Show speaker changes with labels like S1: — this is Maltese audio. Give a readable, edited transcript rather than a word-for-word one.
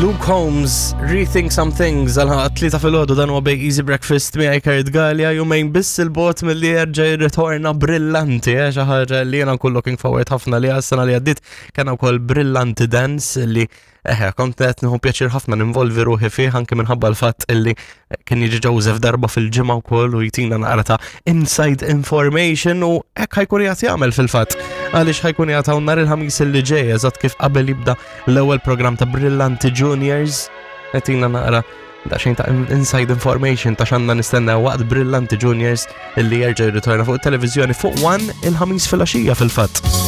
S1: Luke Holmes, Rethink Some Things, għal tlieta filgħodu dan huwa Big Easy Breakfast miegħi Kurt Gallia jumejn biss il-bot milli jerġa' jirritorna brillanti, eh, xi ħaġa li jiena nkun looking forward ħafna li għas-sena li għaddiet kien wkoll brillanti dance li Eħe, kont qed nieħu pjaċir ħafna ninvolvi ruħi fih anke minħabba l-fatt illi kien jiġi Joseph darba fil-ġimgħa wkoll u jtina naqra ta' inside information u hekk ħajkun qiegħed jagħmel fil-fatt. Għaliex ħajkun qiegħed hawn nhar il-ħamis illi ġej eżatt kif qabel jibda l-ewwel programm ta' Brillanti Juniors qed naqra daqsxejn ta' inside information ta' xanna nistenna waqt Brillanti Juniors illi jerġa' jirritorna fuq it-televiżjoni fuq One il-ħamis fil-għaxija fil-fatt.